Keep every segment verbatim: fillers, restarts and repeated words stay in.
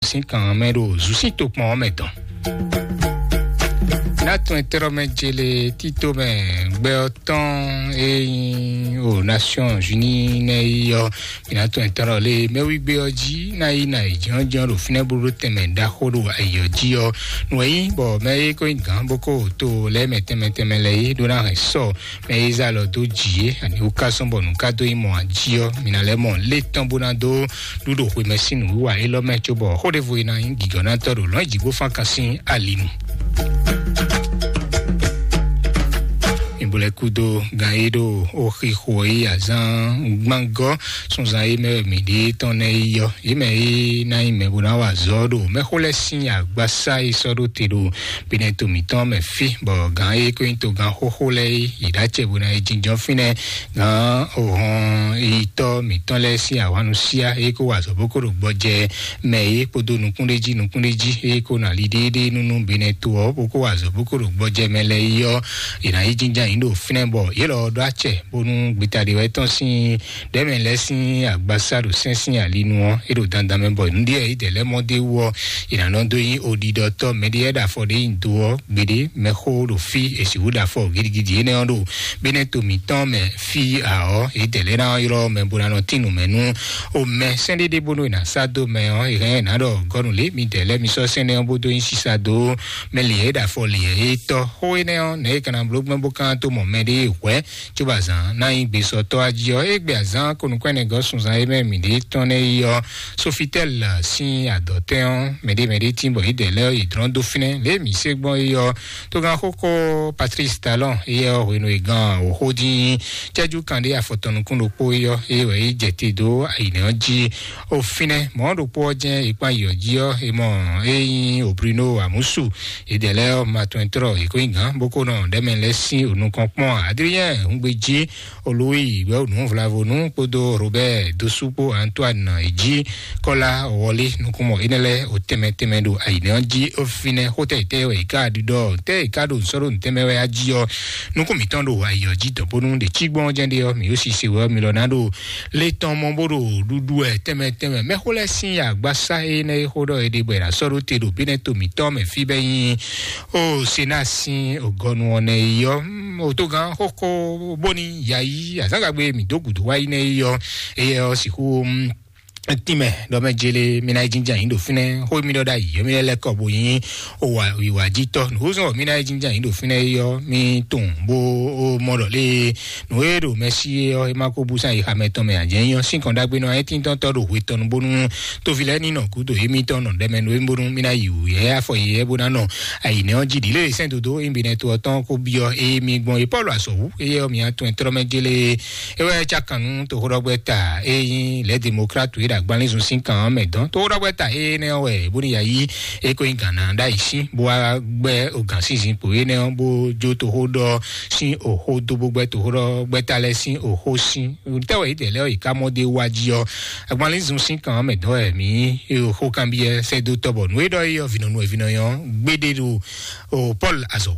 sín kan mɛ ɖo zǔsín tokpɔn ɔ́ mɛ dɔn. Nátɔn ɛtɛ́rɔ́ mɛ jele tító mɛ gbɛ ɔ́ tɔn e nyí o Nations Unies nɛ yi ɔ́, mi nátɔn ɛtɛ́rɔ́ lé mɛwígbé ɔ́ jí ná yi ná yi jɔ́njɔ́n ɖo fínɛ́ bó ɖó tɛnmɛ ɖaxó ɖo ayǐ ɔ́ jí ɔ́. Nǔ e nyí bɔ mɛ e ko nyí gǎn bó ko to lɛ́ mɛ tɛnmɛ tɛnmɛ lɛ́ɛ é ɖó ná hɛn sɔ mɛ e zá lɔ dó jǐ é, ani wú ká sɔ́ bɔ nǔ ká dó nyí mɔ ají ɔ́, mi ná lɛ́ mɔ lé tɔn bó ná dó ɖúɖo xwemɛ sín nǔwiwa élɔ́ mɛ, cóbɔ xó ɖěvo e ná nyí gǐgɔ́nátɔ́ ɖo lɔ̌n jǐgbófán kan sín ali nu. Ìbúlẹ̀ kúdó gan e ɖo ó xixo é azán gbángɔ́ sunzan é mɛ mǐ ɖíe tɔn nɛ́ yi ɔ́, yě mɛ e ná nyí mɛ bó ná wa azɔ̌ ɖo mɛxó lɛ́ɛ sín agbasá e sɔ́ ɖó te ɖo Benin to mǐtɔn mɛ fí, bɔ gǎn e ko nyí togán xóxó lɛ́ɛ é, yě ɖó acɛ bó ná yi jínjɔ́n fínɛ́. Gǎn ohɔn yitɔ́ mǐtɔn lɛ́ɛ sín ahwannusia e ko wa azɔ̌ bó ko ɖo gbɔjɛ mɛ é kpódó nukúnɖéjí nukúnɖéjí e ko ná li ɖéeɖée nú nú Benin to ɔ́ bó ko wa azɔ̌ bó ko ɖo gbɔjɛ mɛ lɛ́ɛ yi ɔ́, yě ná yi jínjɔ́n yǐ ɖo fínɛ́, bɔ yě lɔ ɔ́ ɖó acɛ bónú gbetadewɛtɔ́ sín ɖɛ̌mɛ lɛ́ɛ sín agbasá ɖo sɛ́n sín ali nu ɔ́, é ɖo dandan mɛ bɔ nǔɖé e yě dɛ lɛ́ɛ mɔ d'é wú ɔ́, è nǎ nɔ dó nyí oɖiɖɔtɔ́ mɛɖé lɛ́ɛ ɖo afɔ ɖé nyi do ɔ́ gbeɖé. Mɛxó ɖo fí è sixú ɖo afɔ gidigidi énɛ́ ɔ́ ɖo Benin to mǐtɔn mɛ fí ǎ ɔ́, yě dɛ lɛ́ɛ ná ylɔ́ mɛ bó ná nɔ tín nǔ mɛ nú o mɛ sɛ́n ɖéɖé bónú è nǎ sá dó mɛ ɔ́, è hɛn ɛ nǎ ɖɔ gɔ́nu lě mi dɛ lɛ́ɛ mi sɔ́ sɛ́n énɛ́ ɔ́ bó dó nyí sisa dó mɛ lǐɛ́ é ɖo afɔ lǐɛ́ é tɔ́. Xó énɛ́ ɔ́, nɛ̌ è ka ná bló gbɛ́ bó ka ná tó mɔ mɛɖé hwɛ̌ cóbɔ azǎn ná nyí gbesɔtɔ́ ají ɔ́, égbé azǎn ko nukún ɛnɛ gɔ́ sunzan e mɛ mǐ ɖe tɔn nɛ́ yi ɔ́, Sofitɛl sín adɔtɛn ɔ́, mɛɖé mɛɖé tín bɔ yě dɛ lɛ́ yě dlɔ́n dó fínɛ́. Lě mǐ se gbɔn é ɔ́, togán xóxó Patrice Talon é ɔ́ hwenu e gan òxó dín cɛ́jú kanɖé afɔtɔn nukún ɖokpó é ɔ́, é wɛ é jɛ te dó ayǐnɛ ɔ́ jí. O fínɛ́ mɔ̌ ɖokpó ɔ́ jɛ́n è kpán yi ɔ́ jí ɔ́, è mɔ é nyí o Bruno Amusu. Yě dɛ lɛ́ɛ ɔ́, ma tɔn trɔ è ko nyí gǎn bó ko nɔ ɖɛ̌mɛ lɛ́ɛ sín o nukɔn kpɔ́n Adrien Hungbejí, Olóyè ìwé ònú Vlavonu kpódó Robert Dosu kpó Antoine Eji Kɔla Wɔlé nukúnmɔ énɛ́ lɛ́ɛ o tɛnmɛ tɛnmɛ ɖo ayǐnɛ ɔ́ jí. Ó fínɛ́ xótɛ tɛ wɛ ìka ɖiɖɔ tɛ ìka ɖo nsɔ́ ɖo ntɛnmɛ wɛ ají ɔ́, nukún mǐtɔn ɖo ayǐ ɔ́ jí dɔ̌n bónú ɖe cí gbɔn jɛ́n ɖe ɔ́, mǐ ó si se wɛ ɔ́, mi lɔ ná ɖo lé tɔn mɔ bó ɖo ɖuɖu ɛ tɛnmɛ tɛnmɛ. Mɛxó lɛ́ɛ sín agbasá énɛ́ e xó ɖɔ è ɖe bɔ è nǎ sɔ́ ɖó te ɖo Benɛto mǐtɔn mɛ fí bɛ́ nyí o Sena sín ògɔnu ɔ́ nɛ yi ɔ́, mm, òtogán xóxó bóni yayi azǎngagbe mǐ dó gǔdo wá yi nɛ yi ɔ́, éyɛ ɔ́ sixú, mm, tínmɛ ɖɔ mɛ jele mi ná yi jínjɔ́n ayǐ ɖo fínɛ́, xó mi ɖɔ ɖ'ayǐ ɔ́ mi lɛ́ lɛ́ kɔ bo nyí o wa ìwà jítɔ́. Nǔ zɔn mi ná yi jínjɔ́n ayǐ ɖo fínɛ́ yi ɔ́ mi tunwun bó o mɔ ɖɔ lé nǔ e ɖo mɛ sí é ɔ́, é má kó bú sán yi xamɛ tɔn mɛ ǎ. Jɛ nyí ɔ́, sín kɔn ɖagbe nɔ ayé tíntɔ́ntɔ́ ɖo hwe tɔn nu bónú tóvi lɛ́ɛ ní nɔ gǔdo émítɔn nɔ ɖɛmɛ nú émí bónú mí ná yi wǔ yɛ afɔ yɛ bó ná nɔ ayǐnɛ ɔ́ jí ɖi lé sɛ́n dodó émí bɛnɛ to ɔ́ tɔn kó byɔ́ émí gbɔn é Pɔ́lu azɔ̌wú éyɛ́ ɔ́ mǐ atɔn trɔ́ mɛ jélé é wɛ cá kan nú toxóɖɔgbɛ́ta é nyí lɛ̌ demokratu é ɖo agbanlízun sín kan ɔ́ mɛ dɔn. Toxóɖɔgbɛ́ta énɛ́ ɔ́ wɛ bónú ya yí é kó nyí gǎn ná ɖ'ayǐ sín bó wá gbɛ́ ogǎn sín zinkpo énɛ́ ɔ́ bó jó toxóɖɔ sín òxó dó bó gbɛ́ toxóɖɔgbɛ́ta lɛ́ɛ sín òxó sín. Tɛ́wɛ yě dɛ lɛ́ ɔ́ yě ká mɔ dé wá jí ɔ́, agbanlízun sín kan ɔ́ mɛ dɔn wɛ mǐ xó kanbyɔ́ sɛ́ dó tɔ́ bɔ nǔ e ɖɔ é ɔ́ vǐnɔnu wɛ vǐnɔ nyɔ́ gbéɖé ɖo o Pɔ́lu azɔ̌.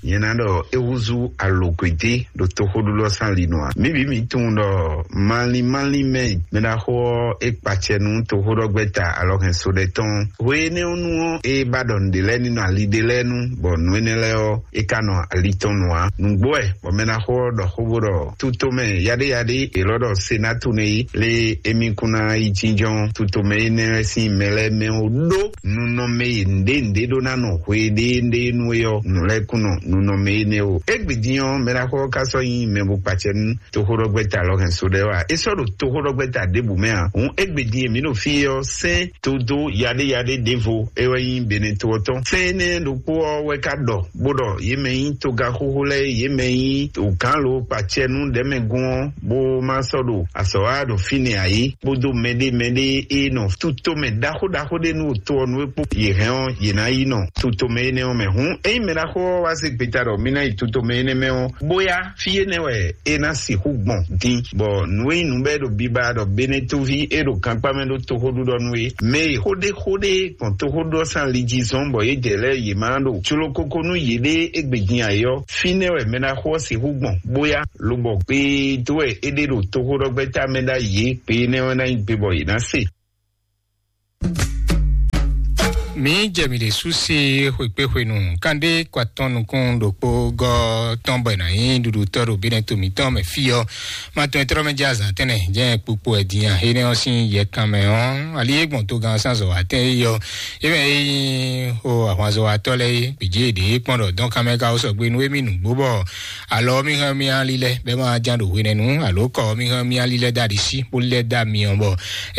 Nyɛ ná ɖɔ é húzú alǒkwété ɖo toxóɖúɖɔ sín ali nɔ a? Mǐ bǐ mǐ tunwun ɖɔ malín malín mɛ mɛ ɖaxó ɔ́ é kpacɛ nú toxóɖɔgbɛ́ta alɔhɛnso ɖɛ tɔn. Hwe énɛ́ ɔ́ nu ɔ́, é ba ɖɔ nǔɖé lɛ́ɛ ní nɔ ali ɖé lɛ́ɛ nu, bɔ nǔ énɛ́ lɛ́ɛ ɔ́, é ka nɔ ali tɔn nu ǎ. Nǔgbó wɛ bɔ mɛ ná xo ɔ́ ɖɔ xó bó ɖɔ tutomɛ yaɖéyaɖé élɔ́ ɖɔ Senatu nɛ́ yí lé émí kún ná yi jínjɔ́n tutomɛ énɛ́ lɛ́ɛ sín mɛ lɛ́ɛ mɛ ó ɖó nunɔmɛ e nǔɖé nǔɖé ɖó ná nɔ hweɖéeɖée nú é ɔ́, nǔ lɛ́ɛ kún nɔ nunɔmɛ énɛ́ ó. Égbé din ɔ́, mɛ ná xo ɔ́ ka sɔ́ nyí mɛ bó kpacɛ nú toxóɖɔgbɛ́ta lɔhɛnso ɖɛ wá. É sɔ́ ɖo toxóɖɔgbɛ́ta ɖěbǔ mɛ ǎ. Hǔn égbé din e mǐ ɖo fí é ɔ́, sɛ́n dodó yaɖéyaɖé ɖěvo é wɛ nyí Benɛto ɔ́ tɔn. Sɛ́n énɛ́ ɖokpó ɔ́ wɛ ka ɖɔ bó ɖɔ yě mɛ nyí togaxóxó lɛ́ɛ, yě mɛ nyí ògǎnló kpacɛnú ɖɛ̌mɛgún ɔ́, bó má sɔ́ ɖo azɔ̌ wa ɖo fínɛ́ ǎ é, kpódó mɛɖé mɛɖé e nɔ tutomɛ ɖaxó ɖaxó ɖé nú to ɔ́ nú é kpó yě hɛn ɔ́, yě ná yi nɔ tutomɛ énɛ́ ɔ́ mɛ. Hǔn ényí mɛ ɖaxó ɔ́ wá zé gbeta ɖɔ mí ná yi tutomɛ énɛ́ mɛ ɔ́, bóyá fí énɛ́ wɛ é ná sixú gbɔn din, bɔ nǔ e nyí nǔ bɔ é ɖo biba ɖɔ Benɛtoví é ɖo gankpá mɛ ɖó toxóɖuɖɔ nú é. Mɛ e xó ɖé xó ɖé gbɔn toxóɖuɖɔ sín ali jí zɔ́n bɔ yě jɛ lɛ́ɛ yě má ɖo jló kókó nú yěɖée égbé din ǎ é ɔ́, fínɛ́ wɛ mɛ ná xo ɔ́ sixú gbɔn, bóyá lobɔ gbe dó wɛ é ɖe ɖo toxóɖɔgbɛ́ta mɛ ɖ'ayǐ é, gbe énɛ́ ɔ́ ná nyí gbe bɔ yě ná se. Mi jɛ mi ɖe sú sí xwekpéxwenu kánɖé kɔ atɔn nukún ɖokpó gɔ́ tɔn bɔ è nǎ nyí ɖuɖutɔ́ ɖo bínɛ́ to mǐtɔn mɛ fí ɔ́. Ma tɔn e tlɔ́ mɛ jɛ azǎn tɛnɛ jɛ kpukpu ɛ din a? Énɛ́ ɔ́ sín yɛkan mɛ ɔ́, ali e gbɔn togán ɔ́ sín azɔ̌watɛn é yɔ é mɛ é nyí o ahwanzɔ́watɔ́ lɛ́ɛ é gbějé ɖě kpɔ́n ɖɔ dɔn kanmɛ ka ó sɔgbe nú émí nǔgbó bɔ alɔ mí hɛn mí ali lɛ́ɛ bɛ́ ma ján ɖo hwenɛ́nu alo kɔ mí hɛn mí ali lɛ́ɛ dó aɖisí bó lɛ́ dó amyɔ bɔ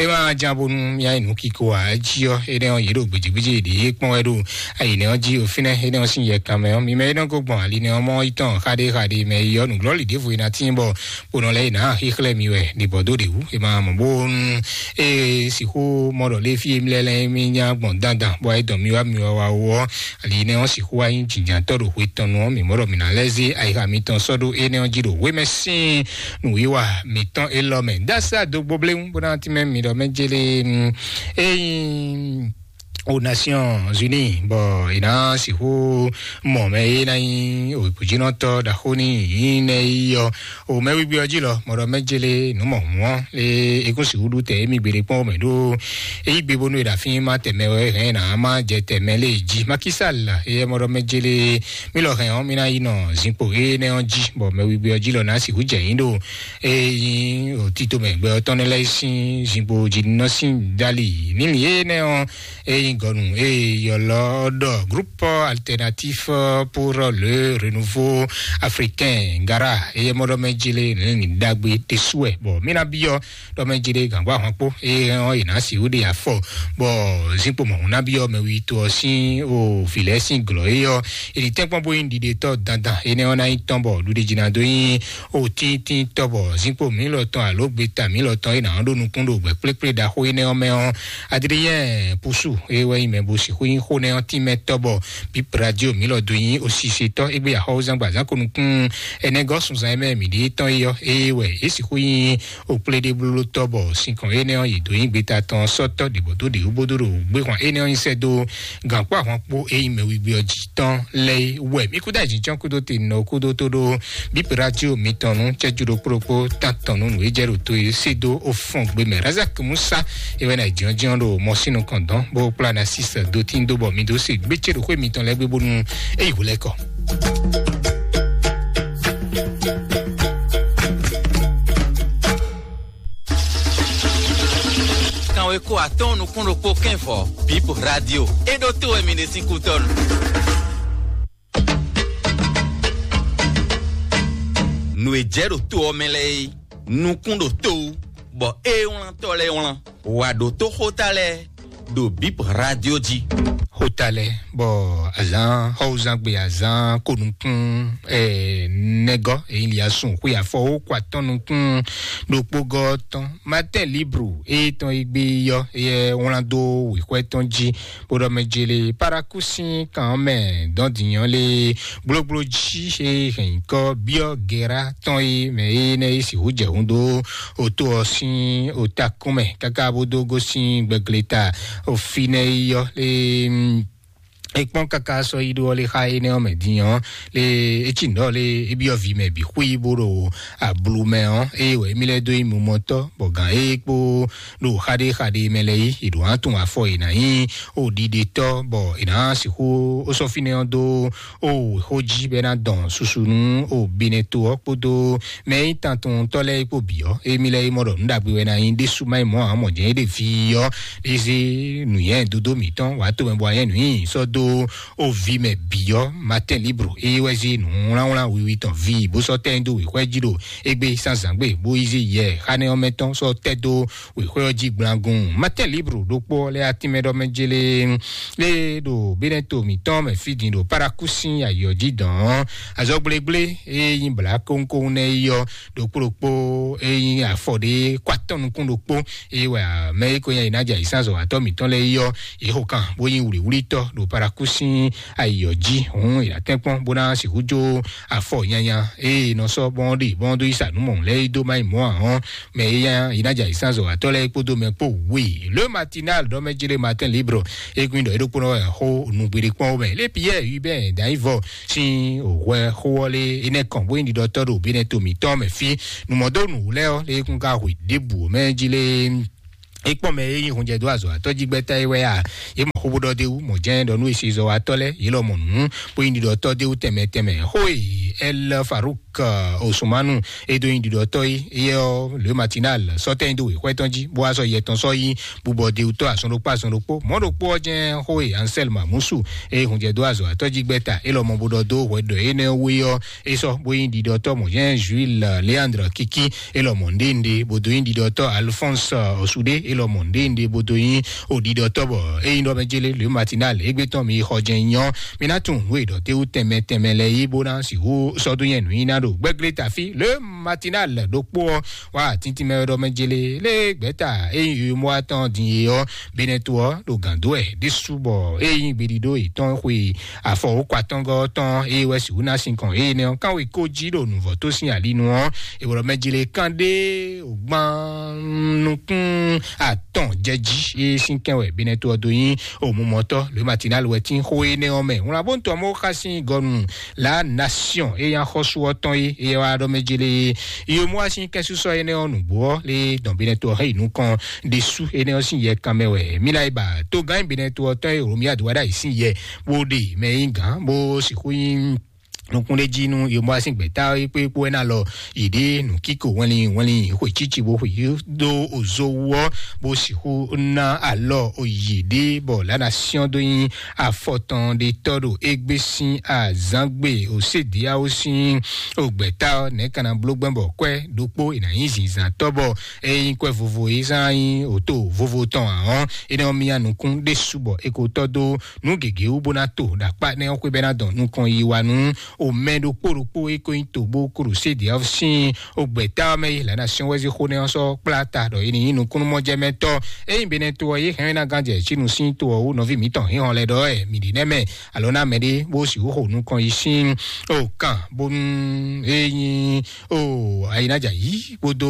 é ma ján bónú mía yi nǔ kiko ǎ. Jí ɔ́, énɛ́ ɔ́, yě ɖo gbějégbéjé ɖě kpɔ́n wɛ ɖo ayǐnɛ ɔ́ jí o fínɛ́. Énɛ́ ɔ́ sín yɛ kanmɛ ɔ́, mi mɛ énɛ́ ko gbɔn ali nɛ́ ɔ́ mɔ yi tɔn xaɖé xaɖé mɛ yi ɔ́, nǔglɔ́lǐ ɖěvo e ná tíin bɔ kponɔ lɛ́ɛ yi nǎ xíxlɛ́ mi wɛ ɖi bɔ dó ɖě wú. È ma mɔ bónú é sixú mɔ ɖɔ lé fí e mi lɛ́ lɛ́ mi nya gbɔn dandan bɔ ayé dɔn mi wá mi wá wá wú ɔ́, ali nɛ́ ɔ́ sixú wá nyí jǐnjǎntɔ́ ɖo hwe tɔn nu ɔ́, mǐ mɔ ɖɔ mǐ ná lɛ́ zé ayixa mitɔn sɔ́ ɖó énɛ́ ɔ́ jí ɖo hwemɛ sín nǔwiwa mǐtɔn élɔ́ mɛ. Dásá dó gbó bléwún bó ná tínmɛ mi ɖɔ mɛ jélé. Ényí aux Nations Unies bɔ è nǎ sixú mɔ mɛ e ná nyí òkújínɔtɔ́ ɖaxó ní yǐ nɛ yi ɔ́, o mɛ wígbé ɔ́ jí lɔ mɔ ɖɔ mɛ jélé nǔ mɔ hǔn ɔ́ lé é kún sixú ɖu tɛ émí gbeɖé kpɔ́n mɛ ɖó é yí gbe bónú è ɖo afí ma tɛmɛ wɛ hɛn ná má jɛ tɛmɛ lé jí makísal. Éyɛ́ mɔ ɖɔ mɛ jélé mí lɔ hɛn ɔ́ mí ná yi nɔ zinkpo énɛ́ ɔ́ jí bɔ mɛ wígbé ɔ́ jí lɔ ná sixú jɛ yín ɖo ényí òtítọ́ mɛ gbɛ ɔ́ tɔn lɛ́ɛ sín zinkpo jínínɔ sín dali nílì énɛ́ ɔ́. Ényí gɔnu eye yɔlɔ ɖɔ groupe alternatif pour le renouveau africain gara eye mɔɖɔ mɛ jele ní dagbe tesuɛ bɔ mina biɔ ɖɔ mɛ jele gangba hɔn kpo eye ɔn yina si wo de afɔ bɔ zinkpo mɔ na biɔ mɛ wi to ɔsin o filɛ sin glɔ eye ɔ eni tɛnkpɔn bo yin ɖiɖe tɔ dandan ene ɔn na yi tɔn bɔ ɖuɖe jina do yin o tintin tɔ bɔ zinkpo mi lɔ tɔn alo gbeta mi lɔ tɔn ena ɔn ɖo nukun ɖo gbɛ kplekple ɖaxo ene ɔn mɛ ɔn Adrien Poussou e wɛ nyi mɛ bo sixú nyi xó nɛ ɔ́ tínmɛ tɔ́ bɔ Bip Radio mǐ lɔ dó nyi osisetɔ́ égbé axɔ́wúzán gba zán ko nukún ɛnɛ gɔ́ sunzan e mɛ mǐ ɖe tɔn é ɔ́, eye wɛ é sixú nyi okpléɖéblótɔ́ bɔ sinkɔn énɛ́ ɔ́, yě dó nyi gbeta tɔn sɔ́tɔ́ ɖě bɔ dó ɖě wú bó dó ɖo gbéhwan énɛ́ ɔ́ nyi sɛ́ dó gǎnkpó ahwan kpó e nyi mɛ wígbé ɔ́ jí tɔn lɛ́ɛ wɛ. Mǐ kúdó ayǐjínjɔ́n kúdó te nɔ kúdó tó ɖó Bip Radio mitɔn nú cɛ́jú ɖokpó ɖokpó tán tɔn nú nǔ e jɛ ɖo to e sé dó ó fɔ́n gbe mɛ. Razak Musa e wɛ na jínjɔ́n ɖo mɔsínu kɔn dɔn bó kplá na sísɛ dó tín dó bɔ mi dó se gbécé ɖo xwé mitɔn lɛ́ɛ gbé bónú é yi hwlɛ́kɔ. Kanweko atɔ́ɔ́n nukún ɖokpó kɛ́n vɔ̌, Bip Radio. É ɖó tó wɛ mi ɖe sín kútɔ́nu. Nǔ e jɛ ɖo to ɔ́ mɛ lɛ́ɛ é, nukún ɖo to wú, bɔ é wlántɔ́ lɛ́ɛ wlán. Wǎ ɖótó xóta lɛ́ɛ ɖo Bip Radio jí. Xóta lɛ́ɛ bɔ azǎn xɔwúzán gbe azǎn ko nukún ɛ nɛgɔ́ èyí li asún xwé afɔ ó kó atɔ́n nukún ɖokpó gɔ́ tɔn Martin Libre e tɔn e gbé yɔ e wlán dó wěxwɛ tɔn jí bó ɖɔ mɛ jele paraku sín kan ɔ́ mɛ dɔn dǐnyɔ́ lé gblogblo jí e hɛn nyǐkɔ byɔ́ gera tɔn e mɛ e nɛ e sixú jɛ hun dó oto ɔ́ sín otakún mɛ káká bó dó gosín gbɛgleta ofinɛ e yɔ lé. Ekpɔn kaka sɔ yi ɖo ɔlɛ xa énɛ́ ɔ́ mɛ din ɔ́ lé etsi nɔ lé ebiɔ vi mɛ bi xwí bó ɖo ablu mɛ ɔ́ eye wɛ émí lɛ́ dó yi mumɔtɔ bɔ gǎn é kpó ɖo xaɖé xaɖé mɛ lɛ́ɛ yi è ɖo hán tun afɔ è nǎ nyí o ɖiɖetɔ bɔ è nǎ sixú ó sɔ́ fínɛ́ ɔ́ dó o xó jí bɔ é ná dɔn susu nú o binɛ to ɔ́ kpódó mɛ e nyí tantɔntɔ́ lɛ́ɛ kpó bǐ ɔ́ émí lɛ́ɛ é mɔ ɖɔ nǔ ɖagbe wɛ ná nyí ɖésú má nyí mɔ̌ ǎ mɔ jɛ́n é ɖe vi ɔ́ é zé nǔnywɛ́ dodó mǐtɔn wǎ tomɛ bɔ anyɛ́ nǔ nyi sɔ́ dó o vi mɛ bǐ ɔ́ Martin Libre é wɛ zé nǔwlánwlán wiwi tɔn vi bó sɔ́ tɛ́ nyi dó wěxwɛ́ jí ɖo égbé zǎnzǎngbe bó yi zé yɛ xánɛ ɔ́ mɛ tɔn sɔ́ tɛ́ dó wěxwɛ́ ɔ́ jí gblangun. Martin Libre ɖokpó ɔ́ lɛ́ atínmɛ ɖɔ mɛ jélé lé ɖo bínɛ́ to mǐtɔn mɛ fí din ɖo paraku sín ayǐ ɔ́ jí dɔn ɔ́ azɔgblégblé e nyí blǎ kónkón nɛ́ yi ɔ́ ɖokpó ɖokpó e nyí afɔ ɖé kó atɔ́ nukún ɖokpó eye wɛ mɛ e ko nyí ayǐnájɛ ayǐsázɔwatɔ́ mǐtɔn lɛ́ɛ yi ɔ́ yě xo kan bó nyí wlǐwlítɔ́ ɖo paraku sín ayǐ ɔ́ jí hǔn è nǎ tɛ́nkpɔ́n bó ná sixú jó afɔ nyanya eye nɔ sɔ́ bɔn ɖi bɔn dó yi sa nǔ mɔ̌ lɛ́ɛ yi dó má yi mɔ̌ ǎ ɔ́ mɛ e nyanya yi ná jɛ ayǐsázɔwatɔ́ lɛ́ɛ kpódó mɛ kpó wě. Le Matinal ɖɔ mɛ jélé Matin Libre egun ɖɔ é ɖokpónɔ wɛ xó nǔgbéɖé kpɔ́n mɛ lé Pierre Hubert Dayivɔ sín hwɛ xó ɔ́ lé énɛ́ kɔn bó nyí ɖiɖɔtɔ́ ɖo bínɛ́ to mǐtɔn mɛ fí nǔmɔdónú lɛ́ɛ ɔ́ lé kún ká hwe ɖěbǔ mɛ jí lé É kpɔ́n mɛ e nyí hunjɛdó azɔ̌watɔ́ jí gbɛ́ta é wɛ a? Yě mɔ xó bó ɖɔ d'é wú, mɔ̌ jɛ́n ɖɔ nú è se zɔ wá tɔ́ lɛ́ɛ, yě lɔ mɔ nǔ, bó nyí ɖiɖɔtɔ́ d'é wú tɛnmɛ tɛnmɛ. Xó e Ɛl Faruk Osumanu e dó nyí ɖiɖɔtɔ́ é, éyɛ́ ɔ́, Le Matinal sɔ́ tɛ́nyi dó wěxwɛ́ tɔn jí, bó wá sɔ́ yɛ tɔn sɔ́ yí bubɔ d'é wú tɔ́ azɔn ɖokpó azɔn ɖokpó. Mɔ̌ ɖokpó ɔ́ jɛ́n xó e Ansɛl Mamusu e hunjɛdó azɔ̌watɔ́ jí gbɛ́ta é lɔ mɔ bó ɖɔ dó hwɛ ɖɔ énɛ́ wú é ɔ́, é sɔ́ bó nyí ɖiɖɔtɔ́ mɔ̌ jɛ́n Juil Leandre Kiki é lɔ mɔ nɖénɖé, bó dó nyí ɖiɖɔtɔ́ Alphonse Osude é lɔ mɔ nɖénɖé, bó dó nyí o ɖiɖɔtɔ́ bɔ é nyí ɖɔ mɛ jélé Le Matinal égbé tɔn mi xɔ jɛ́n nyɔ́. Mi ná tunwun nǔ e ɖɔ té wú tɛnmɛ tɛnmɛ lɛ́ɛ yí bó ná sixú sɔ́ dó nyɛ nǔ nyi ná ɖo gbɛ́glé tafí Le Matinal ɖokpó ɔ́ wá tíntín mɛ ɖɔ mɛ jélé lé gbɛ́ta é nyí yomɔ atɔn din é ɔ́, Benɛto ɔ́ ɖo gǎn dó wɛ ɖésú bɔ é nyí gbeɖiɖó yětɔn xwe afɔ wǒkɔ atɔngɔ́ tɔn é wɛ sixú ná sinkɔn énɛ́ ɔ́ kánwe kó jí ɖo nǔvɔ́ tó sín ali nu ɔ́, è wlɔ mɛ jlé kán ɖé ògbán nukún atɔn jɛ jí é sín kɛn wɛ Benɛto ɔ́ dó nyí òmumɔtɔ́ Le Matinal wɛ tín xó énɛ́ ɔ́ mɛ. Wlán bó ń tɔ mɔ xá sín gɔnu La Nation é nyí axɔ́sú ɔ́ tɔn é é wá ɖɔ mɛ jlé é yomɔ wá sín kɛ́nsúsɔ énɛ́ ɔ́ nǔgbó ɔ́ lé dɔn Benɛto ɔ́ hɛn yi nukɔn ɖésú énɛ́ ɔ́ sín yɛ kanmɛ wɛ. Mila yi ba togán Benɛto ɔ́ tɔn e Romia do wá ɖ'ayǐ sín yɛ bó ɖe mɛ e nyí gǎn bó sixú nyí nukúnɖéjí nú yomɔ sín gbɛ̌ta é kpé kpó wɛ ná lɔ yě ɖe nǔkíko wɛnlin wɛnlin xwe cíci bó xwe yí dó ozo wú ɔ́, bó sixú ná alɔ oyǐ ɖé bɔ lǎnà syɔ́n dó nyí afɔtɔn ɖé tɔ́ ɖo égbé sín azǎngbe òsédéáwó sín ògbɛ̌ta ɔ́ nɛ̌ ka ná bló gbɛ́ bɔ kwɛ́ ɖokpó è nǎ nyí zǐnzǎntɔ́ bɔ é nyí kwɛ́ vovo é zán nyí òto vovo tɔn ǎ ɔ́, é nɔ myá nukún ɖésú bɔ è ko tɔ́ dó nǔ gěgé wú bó ná to ɖo akpá nɛ́ ɔ́ xwé bɛ́ ná dɔn nukɔn yi wa nú omɛ ɖokpó ɖokpó e ko nyí to bó kúɖo sédě ɔ́ sín ogbɛ̌ta ɔ́ mɛ yi lǎ ná syɔ́n wɛ́zí xó nɛ́ ɔ́ sɔ́ kplá ta ɖɔ é ní nyí nukúnnúmɔjɛmɛtɔ́. Ényí Benɛto ɔ́ yě hɛn ná gán jɛ Cínu sín to ɔ́ wú nɔví mǐtɔn hínhɔn lɛ́ɛ ɖɔ wɛ mǐ ɖi nɛ́ mɛ alo ná mɛɖé bó sixú xo nukɔn yi sín o kan bónú é nyí o ayinájà yí kpódó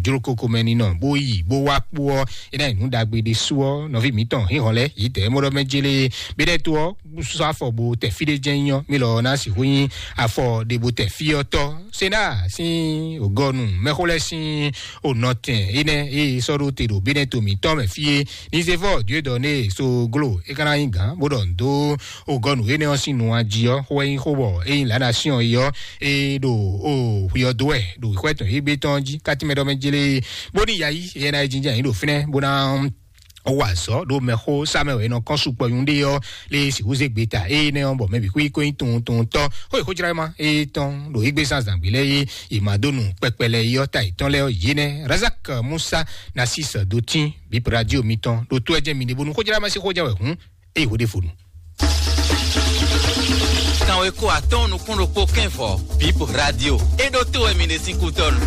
jlókoko mɛ ninɔ bó yi bó wá kpó ɔ́, é ná nyí nǔ ɖagbe ɖésú ɔ́, nɔví mǐtɔn hínhɔn lɛ́ɛ yě dɛ mɔ ɖɔ mɛ jélé Benɛto ɔ́ sɔ́ afɔ bo tɛ fí ɖé jɛ́n nyɔ́ mí lɔ ná sixú nyí afɔ ɖe bo tɛ fí ɔ́ tɔ́. Sena sín ògɔnu mɛxó lɛ́ɛ sín onɔtɛn énɛ́ e sɔ́ ɖó te ɖo Benɛto mǐtɔn mɛ fí é. Nizevɔ Dieu donné so glo é ka ná nyí gǎn bó ɖɔ nǔ dó ògɔnu énɛ́ ɔ́ sín nu jí ɔ́, xó wɛ nyí xó bɔ é nyí lǎ ná syɔ́n é ɔ́, é ɖo o xwi ɔ́ dó wɛ ɖo xwɛ tɔn égbé tɔn jí. Kátímɛ ɖɔ mɛ jélé bó ní yayi é ná yi jínjɛ́n yǐ ɖo fínɛ́ bó ná wa azɔ̌ ɖo mɛxó sá mɛ wɛ è nɔ kɔn sukpɔ nyuɖé ɔ́ lé sixú zé gbeta énɛ́ ɔ́ bɔ mɛ bǐ xwí kó nyí tunwun tunwun tɔ́ xó yi xójlá ma étɔn ɖo égbé zán zǎngbé lɛ́ɛ é. È ma dó nu kpɛkpɛ lɛ́ɛ é ɔ́ ta yětɔn lɛ́ɛ ɔ́ yě nɛ́ Razak Musa Nasis dó tín bǐ radio mitɔn ɖo tó ɛ jɛ mi ɖe bónú xójlá ma sí xójá wɛ hǔn é yi xó ɖé fonu. Kanweko atɔ́ɔ́n nukún ɖokpó kɛ́nvɔ Bip Radio é ɖó tó wɛ mi ɖe sín kútɔ́nu.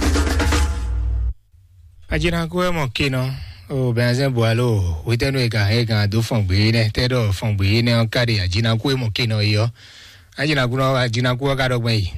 Ajinaku wɛ mɔ kinɔ o bɛnzɛn bualo wetɛnu e kan e kan do fɔn gbe nɛ tɛ ɖɔ fɔn gbe nɛ ɔn ka ɖe ajinaku e mɔ kinɔ yi ɔ. Ajinaku nɔ ajinaku ɔ ka ɖɔ gbɛn yi.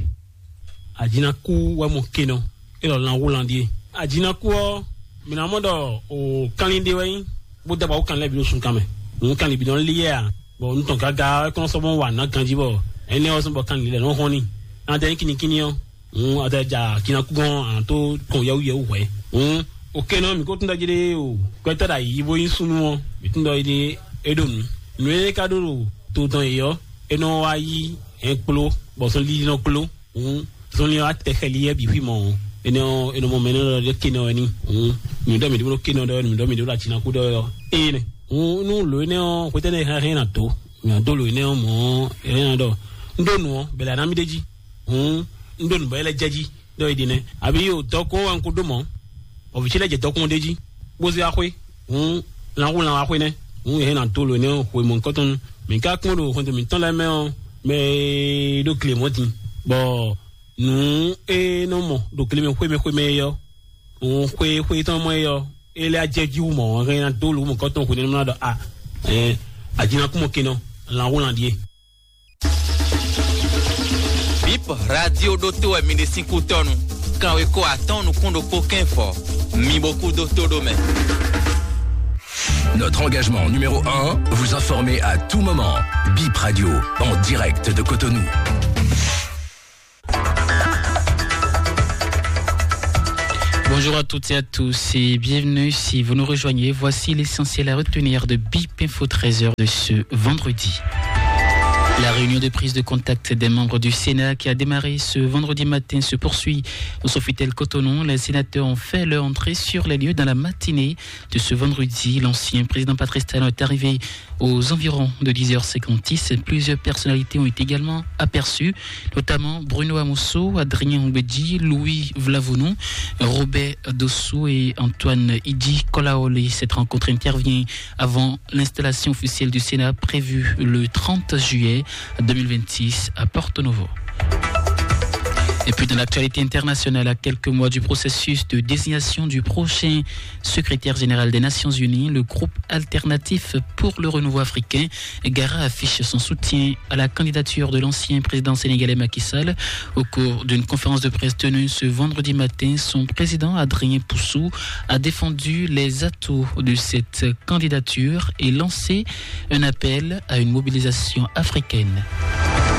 Ajinaku wɛ mɔ kinɔ e lɔ lan wu lan die. Ajinaku ɔ mina mɔ ɖɔ o kanlin de wɛ nyi bó daba wo kanlin lɛ bi ɖo sun kan mɛ. Òun kanlin bi nɔ li yɛ a bɔ nutɔn gaga ɛ kɔn sɔbɔ wa na ganji bɔ ɛnɛ ɔ sɔbɔ kanlin lɛ nɔ hɔn ni. An tɛ nyi kinikini ɔ Ŋu ɔtɛ ja kinakúgɔn àtó kɔn yɛwúyɛwú hwɛ. Ŋu òkè náà mǐ kó tún ɖɔ jí ɖé o. Gbɛtɔ́ ɖo ayǐ bó nyí súnnu ɔ́, mǐ tún ɖɔ jí ɖé é ɖo nǔ. Nǔ e ka ɖó ɖo to tɔn yě ɔ́, é nɔ wá yí hɛn kpló, bɔ zɔnlin nɔ kpló. Ŋu zɔnlin ɔ́ atɛ xɛli yɛ bǐ xwí mɔ ɔ́, é nɔ é nɔ mɔ mɛ nɔ ɖɔ ɖé kénɔ wɛ ní. Ŋu mǐ ɖɔ mǐ ɖó kénɔ ɖɔ wɛ ní, mǐ ɖɔ mǐ ɖó ɖo atinakú ɖɔ wɛ ɔ́. Ée nɛ. Ŋu nú lǒ énɛ́ ɔ́, hwetɛ́nɛ́ hɛn hɛn ná dó, mǐ ná dó lǒ énɛ́ ɔ́ mɔ̌ ɔ́, é nɔ ɖɔ un ɖó nǔ ɔ́, bɛlɛ ná mì ɖ'é jí. Hǔn un ɖó nǔ bɔ é lɛ́ jɛ jí ɖɔ é ɖe nɛ́. Abǐ o dɔkun ɔ́ wɛ un ko ɖó mɔ̌, bɔ vǐ ce lɛ́ jɛ dɔkun ɔ́ ɖ'é jí, bó zé wá xwé. Hǔn lan xú lan wá xwé nɛ́. Hǔn è hɛn ná dó lǒ énɛ́ xwe mɔ̌hunkɔtɔn nu. Mǐ ka kpɔ́n ɖo xwɛndo mǐtɔn lɛ́ɛ mɛ ɔ́, mɛ e ɖó gle mɔ̌ din, bɔ nǔ e nɔ mɔ ɖo gle mɛ xwé mɛ xwé mɛ é ɔ́, hǔn xwé xwé tɔn mɔ é ɔ́, é lɛ́ jɛ jí wú mɔ̌, hɛn ná dó lǒ mɔ̌hunkɔtɔn xwe nɛ́ ɖɔ a, ɛ, ajinakúmɔ kenɔ, lan xú lan ɖíe. Bip Radio ɖótó wɛ mi ɖe sín kútɔ́nu. Kanweko atɔ́ɔ́n nukún ɖokpó kɛ́nfɔ. Mi bo kú dó tó ɖó mɛ. Notre engagement numéro un, vous informer à tout moment. Bip Radio, en direct de Cotonou. Bonjour à toutes et à tous et bienvenue si vous nous rejoignez. Voici l'essentiel à retenir de Bip Info treize heures de ce vendredi. La réunion de prise de contact des membres du Sénat qui a démarré ce vendredi matin se poursuit au Sofitel Cotonou. Les sénateurs ont fait leur entrée sur les lieux dans la matinée de ce vendredi. L'ancien président Patrice Talon est arrivé aux environs de dix heures cinquante-six. Plusieurs personnalités ont été également aperçues, notamment Bruno Amoso, Adrien Oubedji, Louis Vlavounou, Robert Dossou et Antoine Idi Kolaolé. Cette rencontre intervient avant l'installation officielle du Sénat prévue le trente juillet deux mille vingt-six à Porto Novo. Et puis dans l'actualité internationale, à quelques mois du processus de désignation du prochain secrétaire général des Nations Unies, le groupe alternatif pour le renouveau africain, Gara, affiche son soutien à la candidature de l'ancien président sénégalais Macky Sall. Au cours d'une conférence de presse tenue ce vendredi matin, son président Adrien Poussou a défendu les atouts de cette candidature et lancé un appel à une mobilisation africaine.